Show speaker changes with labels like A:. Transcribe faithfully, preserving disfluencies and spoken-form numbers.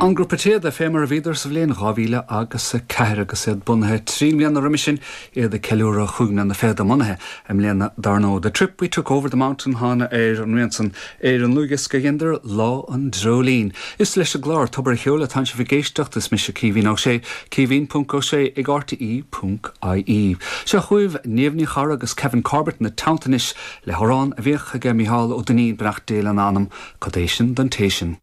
A: An grúpa Téada fé mar a bhíodar sa bhliain dhá mhíle agus a ceathair agus iad bunaithe trí mbliana roimhe sin iad ag ceiliúradh chúig mbliana fichead a mbunaithe i mbliana dar ndóigh. The Trip We Took Over the Mountain thána ar an rian san ar an ndlúthdhiosca a dheineadar Lá an Dreoilín. Is leis an gclár Tobar an Cheoil atánn sibh ag éisteacht is mise Caoimhín Ó Sé, Caoimhín ponc Ó Sé ag RTE ponc IE. Seo chugaibh Niamh Ní Charra agus Kevin Corbett ina teannta anois le hamhrán a bhíodh aige Micheál Ó Duinnín beannacht Dé lena anam, Cad é sin don té sin.